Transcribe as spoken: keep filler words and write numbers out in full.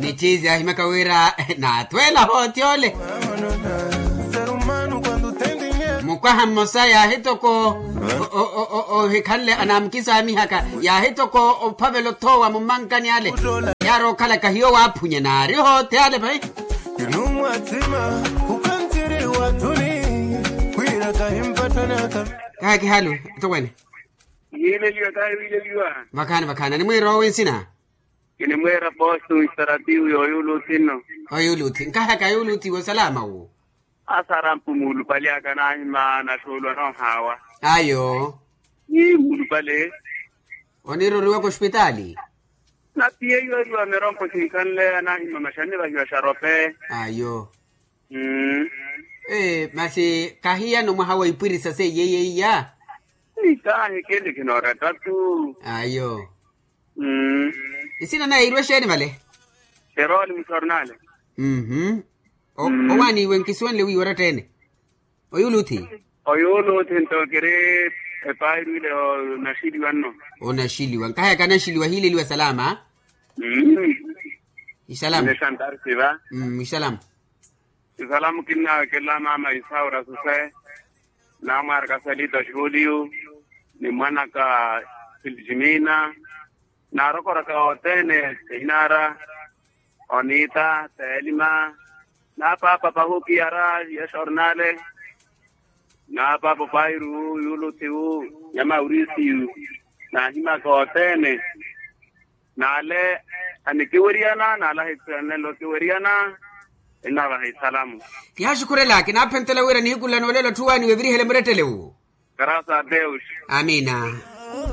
Ni ciizi ahimaka wira naatwela hooti ole. Mukwaha mmosa yaahitoko ohikhanle anaamukisaamihaka, yaahitoko ophavela othoowa mummankani ale. Yaari okhalaka hiyo waaphunya naari hooti ale pai. Kinumwathima khukanthiri wathuni, wira kahimpattanaka. Kaha kihalu atokwene. Yiileliwa kahiwiileliwa. Vakhaani vakhaani animwiira owi nsina. Kinimweera postu nsaratiwu yooyuluthi nno. Oyuluthi nkahaka yuluthi wosalaama wu. Asarampu muulupale aka naahima naxuulwa noohaawa. Ayo. Ii muulupale. Oniiroriwaka ospitaali. Napiyeiweriwa mirompo sinkhanle anaahima maxanni vahiwa xarope. Ayo. Ee masi kahiyano mwaha wa ipwirisa seiye iya. Nitaahekele khinoora tatu. Ayo. Nsina naye iirwe exeeni vale? Xerooli muxornale. Mmm. Owaaniiwe nkisuwenle wiiwa oratta-ene. Oyuuluthi. Oyuuluthi nto kiri epairwile onaxiliwa nno. Onaxiliwa nkahayaka anaxiliwa hiileliwa salaama. Mmm. Isalamu. Ixalamu. Isalamu kinnawekelela maama isaura suse, namwaraka selita juliu, ni mwanaka filjimina, narokoraka othene, inara, onita telima, na papa pahukiyara ya xornale, na papa pairu yulutiwu ya maurisiyu, nahimaka othene. N'ale anikiweriyana n'ale ahisanelo okiweriyana. Enavaha isalamu. Kihaxukhurela kinaaphentela wira nihiku nla n'olelo atthu waaniwe evirihele murettele uwo. Karasa a deus. Amina.